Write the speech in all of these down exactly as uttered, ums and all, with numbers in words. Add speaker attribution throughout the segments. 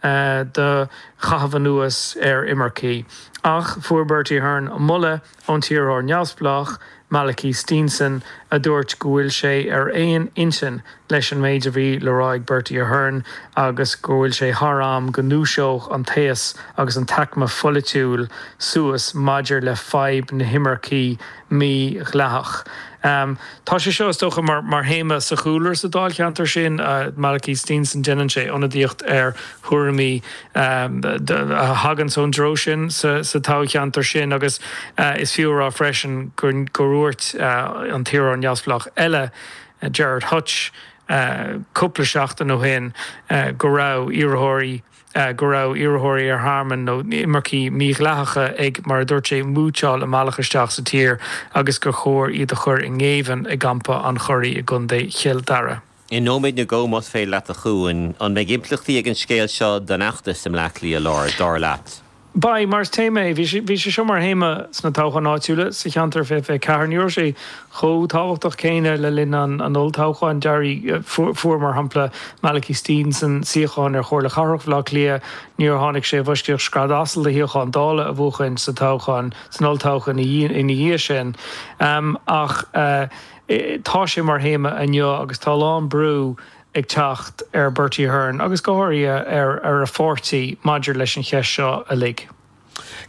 Speaker 1: do chaitheamh anuas ar imircigh. Ach fuair Bertie Ahern moladh ón t-iarrthóir neamhspleách, Malachy Steenson, a dúirt go bhfuil sé ar aon intinn leis an méid a bhí le rá ag Bertie Ahern agus go bhfuil sé thar am go ndúiseodh an t-aos agus an t-aicme pholaitiúil suas maidir le fadhb na himirce mídhleathach. Um, tá sé seo is dócha mar, mar théama sa chúlra sa dáilcheantar sin uh, Malachy Steenson déanann sé ionadaíocht ar thuairimí um, a thagann ón dtreo sin sa, sa toghcheantar sin agus uh, is fiú a rá freisin gur gur dhúirt uh, an t-iarrthóir neamhspleách eile uh, Gerard Hutch uh, cúpla seachtain ó shin uh, go raibh iarrthóirí Uh, go raibh iarrthóirí ar thearmann nó imircigh mídhleathacha ag mar a dúirt sé mútáil a mbealach isteach sa tír agus gur chóir iad a chur i ngéibheann i gcampa an Churraigh i gContae Chill Dara.
Speaker 2: I nóiméad nó dhó más féidir leat a Chuain an mbeidh impleachtaí ag an scéal seo don fheachtas i mBleá Cliath Láir dar leat.
Speaker 1: Beidh mar is téama é bhí sé seo mar théama sna toghcháin áitiúla sa cheantar fiche fiche ceathair ní raibh sé chomh tábhachtach céanna le linn an an olltoghcháin d'éirigh fuair mar shampla Malachy Steenson suíochán ar Chomhairle Cathrach Bhaile Átha Cliath níor tháinig sé i bhfoisceacht scread asail de shuíochán Dála a bhuachan sa toghchán san olltoghchán ina dhiaidh sin. Um, ach uh, tá sé mar théama inniu agus tá lán brú ag teacht ar Bertie Ahern agus go háirithe ar ar a pháirtí maidir leis an cheist seo uilig.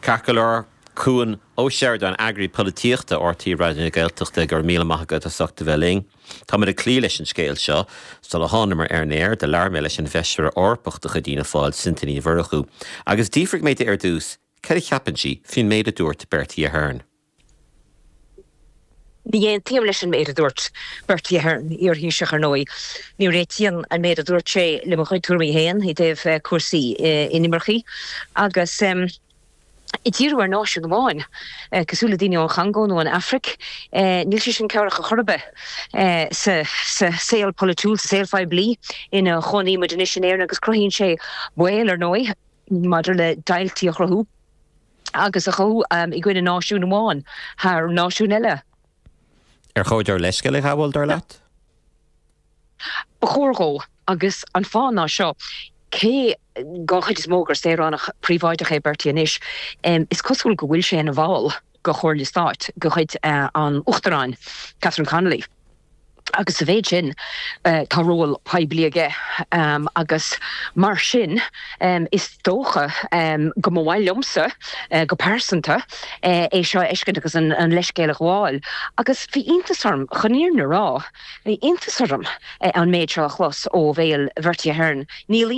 Speaker 2: Ceart go leor Cuan Ó Seireadáin eagraí polaitíochta R T É Raidió na Gaeltachta go raibh míle maith agat as ucht a bheith linn. Tá muid ag cloí leis an scéal seo sula thánamar ar an aer do labhair mé leis an bhfeisire Eorpach de chuid Fhianna Fáil Sinéad Ní Mhurchú, agus d'fhiafraigh mé di ar dtús cad a cheapann sí faoin méid a dúirt Bertie Ahern.
Speaker 3: Ní aontaím leis an méid a dúirt Bertie Ahern iar-Thaoiseach ar ndóigh. Ní réitíonn an méid a dúirt sé le mo chuid tuairimí féin i dtaobh eh, cúrsaí eh, inimirce agus um, i díriú ar náisiún amháin eh, cosúil le daoine ón Chongó nó an Afraic, níl sé sin cabhrach ar chor ar bith sa saol polaitiúil sa saol poiblí ina gcónaímid anois in Éirinn agus cruthaíonn sé baol ar ndóigh maidir le deighiltí a chruthú agus a chur um, i gcoinne náisiún amháin thar náisiún eile.
Speaker 2: Ar chóir dó leithscéal a ghabháil dar leat?
Speaker 3: Ba chóir dó agus an fáth ná seo cé den chuid is mó gur saoránach príobháideach é Bertie anois um, is cosúil go bhfuil sé ina bhall de Chomhairle Stáit de chuid uh, an Uachtaráin Catherine Connolly. Agus sa mhéid sin uh, tá ról poiblí aige um, agus mar sin um, is dócha um, go mba mhaith liomsa uh, go pearsanta uh, é seo a fheiscint agus an, an leithscéal a ghabháil. Agus bhí iontas orm chun an fhírinne a rá, bhí iontas orm uh, an méid seo a chlos ó bhéal Bertie Ahern. Níl